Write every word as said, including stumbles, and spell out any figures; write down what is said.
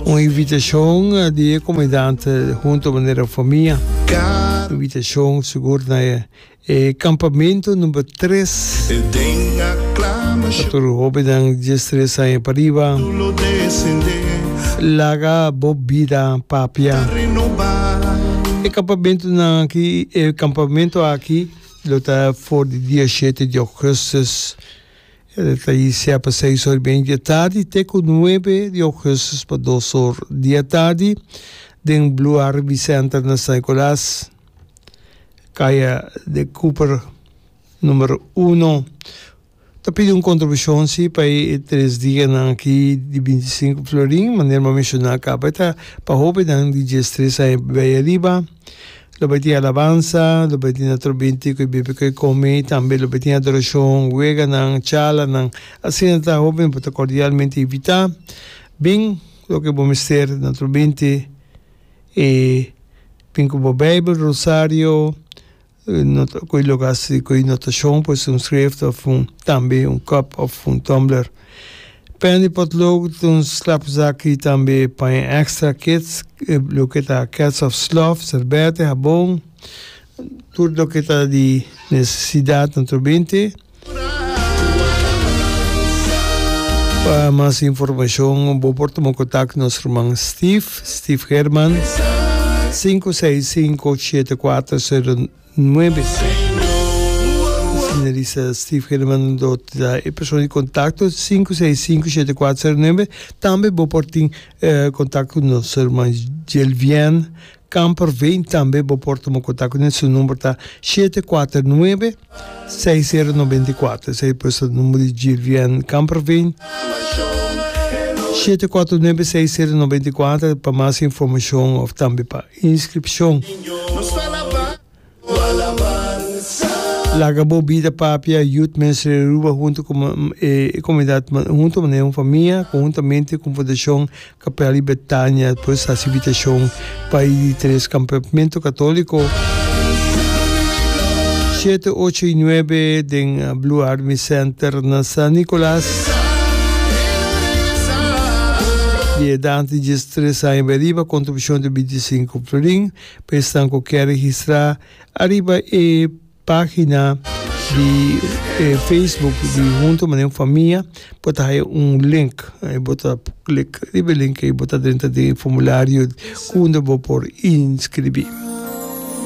Un invitashon di e komunidat hunto manera famia. Invitashon sigur na e kampamentu number tres. Pa tur hobennan dies tres aña pa riba. Laga bo bida papia. E kampamentunan aki, e kampamentu aki lo ta for di dia shete di augustus. E ta inisiá pa seis or i media di atardi te ku nuebe di augustus pa dos or di atardi den Blue Army Center na San Nicolas, Kaya de Cooper numero uno. Ta pidi un kontribushon si pa e tres dianan aki di binti sinku florin, manera mi a menshoná kaba. E ta pa hóbennan di diestres aña bai ariba. Lo bai tin alabansa, lo bai tin atrobinti ku e bebe ku e kome, i tambe lo bai tin adorashon, weganan, chalanan. Asina ta hopi bo ta kordialmente invitá. Bin loke bo mester na atrobinti i bin ku bo Beibel, rosario, ku e loke hasi ku e notashon, pues un schrift òf un tambe un kòp òf un tumbler. Pen di potlood, un slapzak i tambe paña extra, kits, loke ta kets of slof, serbete, habon, tur loke ta di nesesidat naturalmente. Pa mas informashon bo por tuma kontak ku nos ruman Steve, Steve Herman, sinku seis sinku shete kuater sero Nuebe. Asina Lisa Steve Herman lo ta e persona di kontakto sinku seis sinku shete kuater sero nuebe. Tambe bo por tin kontakto ku nos herman Jelvien Kamperveen. Tambe bo por tuma kontakto kuné. Su number ta shete kuater nuebe seis sero noventa i kuater. Esei pues ta number di Jelvien Kamperveen. Shete kuater nuebe seis sero noventa i kuater pa mas informashon òf tambe pa inskripshon. Laga bo bida papia, Youth Ministry Aruba hunto ku e komunidat hunto manera un famia konhuntamente ku Fundashon Kapel di Betania pues hasi invitashon pa e di tres kampamento katoliko shete, ocho i nuebe den Blue Army Center na San Nicolas. Di edat di diestres aña bai riba kontribushon di binti sinku florin. Pa esnan ku kier registrá ariba e página di Facebook di Hunto Manera un Famia bo ta haya un link. Bo ta klik riba e link ei bo ta drenta den e formulario ku unda bo por inskribí.